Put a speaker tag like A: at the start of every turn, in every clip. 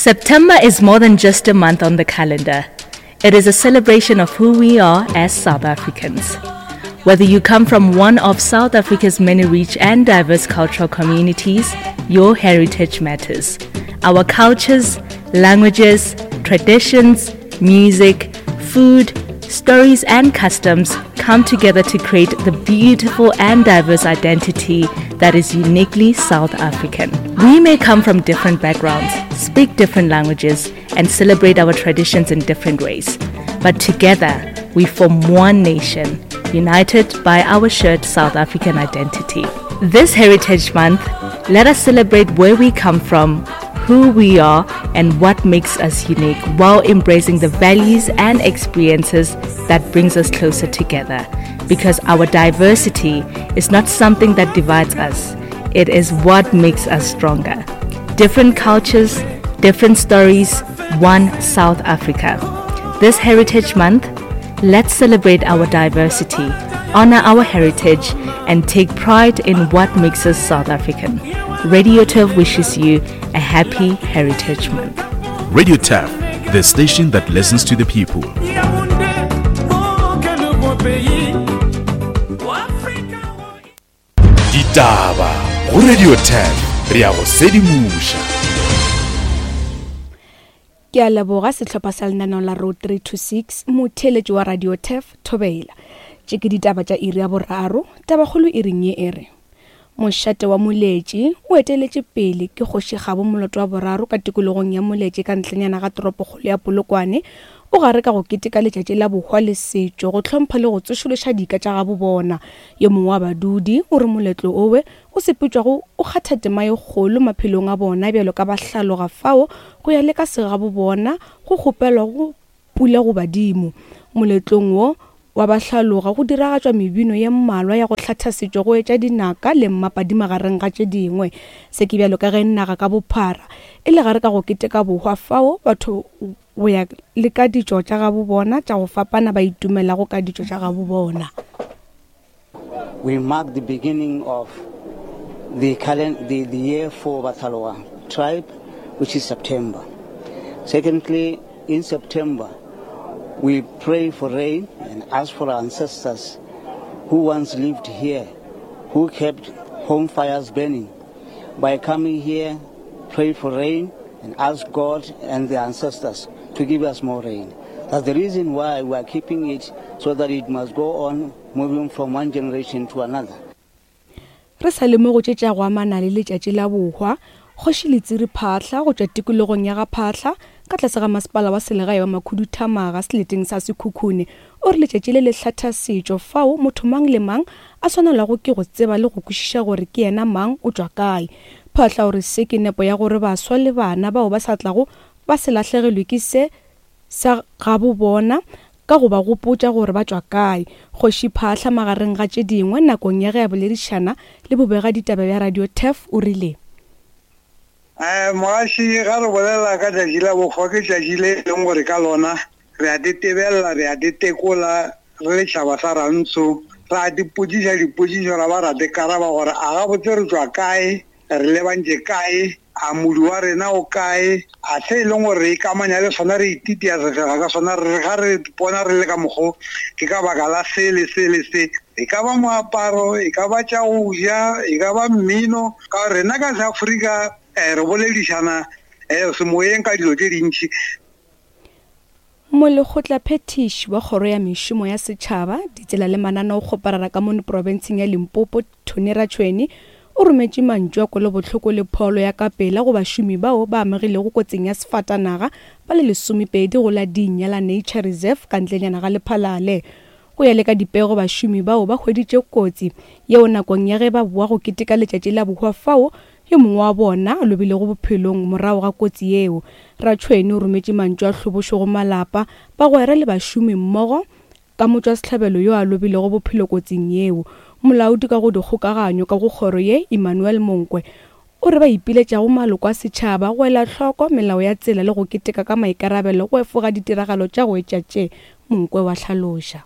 A: September is more than just a month on the calendar. It is a celebration of who we are as South Africans. Whether you come from one of South Africa's many rich and diverse cultural communities, your heritage matters. Our cultures, languages, traditions, music, food, stories, and customs come together to create the beautiful and diverse identity that is uniquely South African. We may come from different backgrounds, speak different languages, and celebrate our traditions in different ways. But together, we form one nation, united by our shared South African identity. This Heritage Month, let us celebrate where we come from, who we are, and what makes us unique while embracing the values and experiences that brings us closer together. Because our diversity is not something that divides us, it is what makes us stronger. Different cultures, different stories, one South Africa. This Heritage Month, let's celebrate our diversity, honor our heritage, and take pride in what makes us South African. Radio Turf wishes you a happy Heritage Month.
B: Radio Turf, the station that listens to the people. Ditaba go Radio 10 re ya go sedimoša.
C: Ke a leboga sehlopha sa lenaneo la Road 326 motheeletši wa Radio Turf Thobela. Tše ke ditaba tša iri ya boraro, tabakgolo iring ye e re. Mošate wa Moletši o eteletše pele ke Kgoši Kgabo Moloto wa boraro ka tikologong ya Moletši ka ntlenyana ga toropokgolo ya Polokwane o gare ka go keteka letšatši la bohwa le setšo go hlompha le go tsošološa dika tša gabo bona. Yo mongwe wa badudi o re moletlo owe o sepetšwago o kgatha tema ye kgolo maphelong a bona bjalo ka bahlaloga fao go ya le ka segabo bona go kgopelwago pula go badimo. Moletlong wo wa bahlaloga go diragatšwa mebino ye mmalwa ya go hlatha setšo go etša dinaka le mmapadi magareng ga tše dingwe. Se ke bjalo ka ge naga ka bophara e le gare ka go keteka bohwa fao batho go ya le ka ditšo tša gabo bona tša go fapana ba itumelago ka ditšo tša gabo bona.
D: We mark the beginning of the, the, the year for Bathaloa tribe, which is September. Secondly, in September, we pray for rain and ask for our ancestors who once lived here, who kept home fires burning. By coming here, pray for rain and ask God and the ancestors to give us more rain. That's the reason why we are keeping it so that it must go on moving from one generation to another.
C: Re sa le mo go tše tša go amana le letšatši la bohwa, Kgoši Letsiri Phaahla go tšwa tikologong ya ga Phaahla ka tlase ga masepala wa selegae wa Makhuduthamaga seleteng sa Sekhukhune o re letšatši le le hlatha setšo fao motho mang le mang a swanelwago ke go tseba le go kwešiša gore ke yena mang o tšwa kae. Phaahla o re se ke nepo ya gore baswa le bana bao ba sa tlago ba se lahlegelwe ke se sa gabo bona ka go ba gopotša gore ba tšwa kae. Kgoši Phaahla magareng ga tše dingwe nakong ya ge a boledišana le bobegaditaba bja Radio Turf o rile.
E: Mogaši, ga re bolela ka tšatši la bohwa ke tšatši le e leng gore ka lona re a tetebelela, re a tetekola re le tšhaba sa Rantsho, ra dipotšiša dipotšišo ra ba ra dikaraba gore a gabotse re tšwa kae, Re lebantše kae? A modu wa rena o kae? A se e leng gore re ikamanya le sona, re ititia sefega ka sona, re re ga re ipona re le ka mokgo, ke ka baka la se le se le se. E ka ba moaparo, e ka ba tša go ja, e ka ba mmino. Ka gore rena ka Seafrika re boledišana semoyeng ka dilo tše dintši.
C: Molekgotlaphethiši wa Kgoro ya Mešomo ya Setšhaba, Ditsela le Mananeokgoparara ka mono profenseng ya Limpopo, Tony Ratšhweni, o rometše mantšu a kwelobohloko le pholo ya ka pela go bašomi bao ba amegilego kotsing ya sefatanaga ba le lesomepedi go la Dinya la Nature Reserve ka ntlenyana ga Lephalale. Go ya le ka dipego bašomi bao ba hweditše kotsi yeo nakong ya ge ba boa go keteka letšatši la bohwa fao Yo mongwe wa bona a lobilego bophelong morago ga kotsi yeo. Ratšhwene o rometše mantšu a hlobošo go malapa, bagwera le bašomi mmogo ka motšwasehlabelo yo a lobilego bophelo kotsing yeo. Molaodi ka go dikgokaganyo ka go kgoro ye, Emmanuel Monkwe, o re ba ipiletša go maloko a setšhaba go ela hloko melao ya tsela le go keteka ka maikarabelo go efoga ditiragalo tša go etša tše, Monkwe wa hlaloša.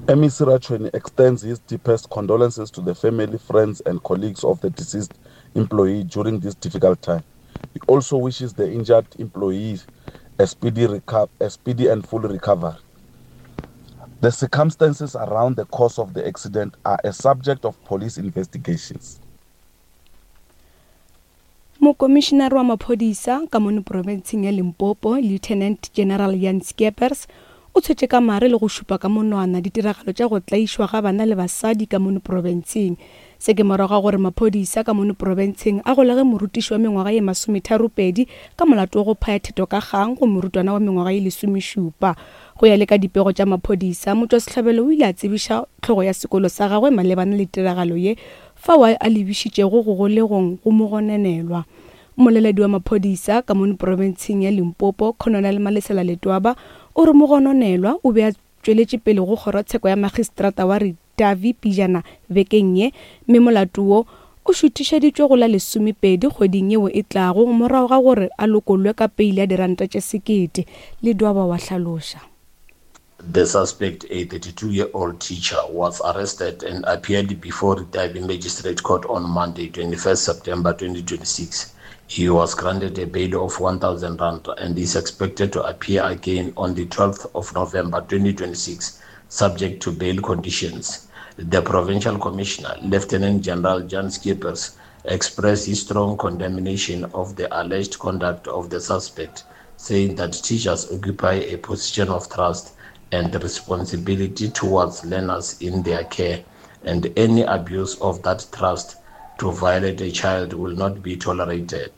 F: MEC Ratshweni extends his deepest condolences to the family, friends and colleagues of the deceased employee during this difficult time. also wishes the injured employees a speedy, a speedy and full recovery. The circumstances around the cause of the accident are a subject of police investigations.
C: Mokomišinare wa maphodisa ka mono profenseng ya Limpopo, Lieutenant General Jan Skeepers, o tshwetše ka mare le go šupa ka monwana ditiragalo tša go tlaišwa ga bana le basadi ka mono profenseng. Se ke morago ga gore maphodisa ka mono profenseng a golege morutiši wa mengwaga ye masometharopedi ka molato wa go phaya theto ka kgang go morutwana wa mengwaga ye lesomešupa. Go ya le ka dipego tša maphodisa, motšwasehlabelo o ile a tsebiša hlogo ya sekolo sa gagwe malebana le tiragalo ye fao a lebišitšego go golegong go mogononelwa. Mmoleledi wa maphodisa ka mono profenseng ya Limpopo, Colonel Malesela Letwaba, o re mogononelwa o be a tšweletše pele go kgorotsheko ya magistrata wa Ritavi pejana bekeng ye, mme molato wo o šuthišeditšwe go la lesomepedi kgweding yeo e tlago morago ga gore a lokollwe ka peile ya diranta tše sekete, Ledwaba wa hlaloša.
G: The suspect, a 32-year-old teacher, was arrested and appeared before Ritavi Magistrate Court on Monday, 21st September 2026. He was granted a bail of 1,000 rand and is expected to appear again on the 12th of November 2026, subject to bail conditions. The provincial commissioner, Lieutenant General Jan Skeepers, expressed his strong condemnation of the alleged conduct of the suspect, saying that teachers occupy a position of trust and responsibility towards learners in their care, and any abuse of that trust to violate a child will not be tolerated.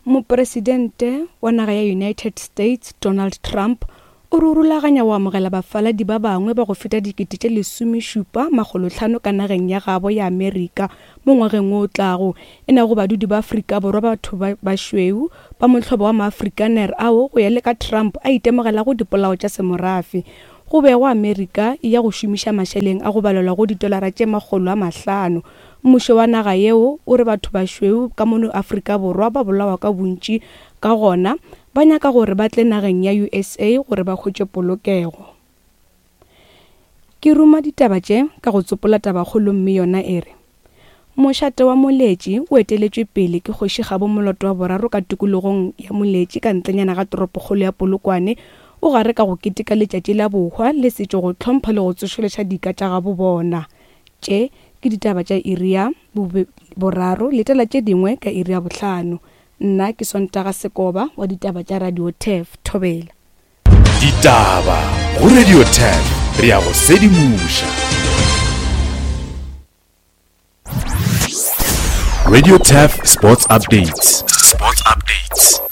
C: Mopresidente wa naga ya United States Donald Trump o re o rulaganya go amogela bafaladi ba bangwe ba go feta dikete tše lesomešupa makgolohlano ka nageng ya gabo ya Amerika mo ngwageng wo o tlago, e nago badudi ba Afrika Borwa ba batho ba bašweu ba mohlobo wa Maafrikaner ao go ya le ka Trump a itemogelago dipolao tša semorafe. Go begwa Amerika e ya go šomiša mašeleng a go balelwa go ditolara tše 500. Mmušo wa naga yeo o re batho bašweu ka mono Afrika Borwa ba bolawa ka bontši ka gona ba nyaka gore ba tle nageng ya USA gore ba hwetše polokego. Ke ruma ditaba tše ka go tsopola tabakgolo mme yona e re, Mošate wa Moletši o eteletšwe pele ke Kgoši Kgabo Moloto wa boraro ka tikologong ya Moletši ka ntlenyana ga toropokgolo ya Polokwane o gare ka go keteka letšatši la bohwa le setšo go hlompha le go tsošološa dika tša gabo bona. Tše ke ditaba tša iri ya boraro, letela tše dingwe ka iri ya bohlano. Nna ke Sontaga Sekoba wa ditaba tša Radio Turf. Thobela.
B: Ditaba go Radio Turf, re a go sedimoša. Radio Turf Sports Updates. Sports Updates.